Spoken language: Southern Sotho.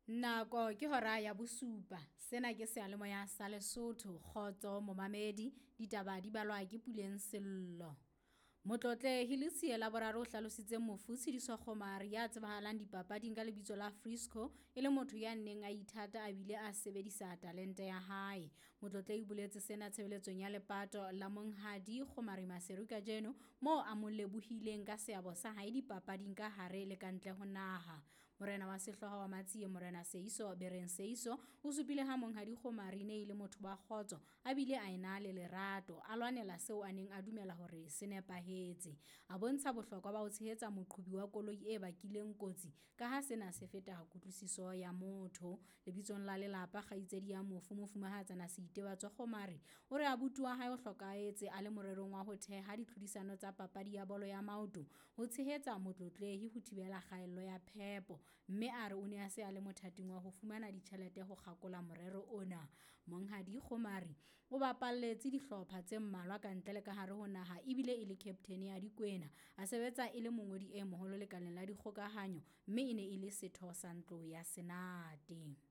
Nako ke hora ya bosupa. Sena ke seyalemoya sa Lesotho. Kgotso momamedi. Ditaba di balwa ke Puleng Sello. Motlotlehi Letsie Laboraro o hlalositse mofu Tshidiso Kgomari ya tsebahalang dipapading ka lebitso la Frisco e le motho ya neng a ithata a bile a sebedisa talente ya hae. Motlotlehi o boletse sena tshebeletsong ya lepato la Monghadi Kgomari Maseru kajeno moo a mo lebohileng ka seabo sa hae dipapading ka hare le ka ntle ho naha. Morena wa sehlooho wa Matsie Morena Seiso Bereng Seiso o supile ha Monghadi Kgomari ne e le motho wa kgotso a bile a ena le lerato, a lwanela seo a neng a dumela hore se nepahetse. A bontsha bohlokwa ba ho tshehetsa moqhobi wa koloi e bakileng kotsi ka ha sena se feta kutlwisiso ya motho. Lebitsong la lelapa kgaitsedi ya mofu Mofumahatsana Seitebatso Kgomari o re abuti wa hae o hlokahetse a le morerong wa ho theha ditlhodisano tsa papadi ya bolo ya maoto ho tshehetsa motlotlehi ho thibela kgaello ya phepo, mme a re o ne a se a le mothating wa ho fumana ditjhelete ho kgakola morero ona. Monghadi Kgomari o bapalletse dihlopha tse mmalwa ka ntle le ka hare ho naha ebile e le captain ya Dikwena. A sebetsa e le mongodi e moholo lekaleng la dikgokahanyo mme e ne e le setho sa ntlo ya Senate.